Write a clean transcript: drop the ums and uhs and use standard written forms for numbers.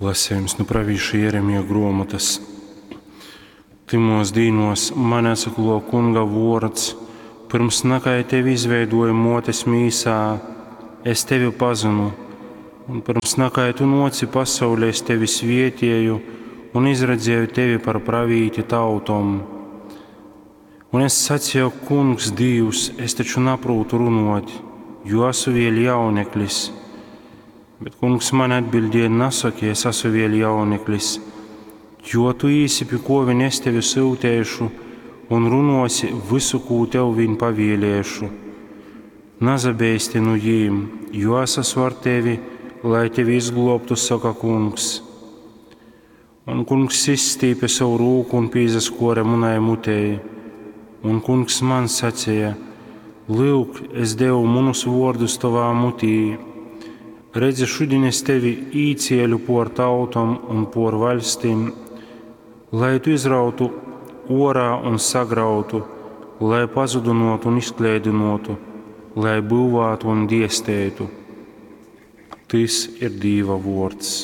Lasejums nu pravīša Jeremija gruomotys. Tymuos dīnuos man atsakluo Kunga vuords: Pyrms nakai tevi izveiduoju muotes mīsā, es tevi pazynu, un pyrms nakai tu nuoci pasaulē, es tevi svietieju un izredzēju tevi par pravīti tautom. Un es sacīju, Kungs, Dīvs, es taču naprūtu runuot, jo esmu vēļ jauneklis. Bet kungs man atbildēja, nasoki, es esmu vēļ jauneklis, jo tu īsi pi ko vien es tevi syutēšu un runuosi visu, kū tev vien pavēlēšu. Nazabeisti nu jīm, jo es esmu ar tevi, lai tevi izglobtu, saka kungs. Un kungs izstīpe savu rūku un pīzaskore munai mutei. Un kungs man sacīja, Lyuk, es devu munus vārdus tavā mutī. Redzi, šodien es tevi īcieļu por tautom un por vaļstim, lai tu izrautu orā un sagrautu, lai pazudynotu un izkleidynotu, lai būvātu un diestētu. Tys ir Dīva vuords.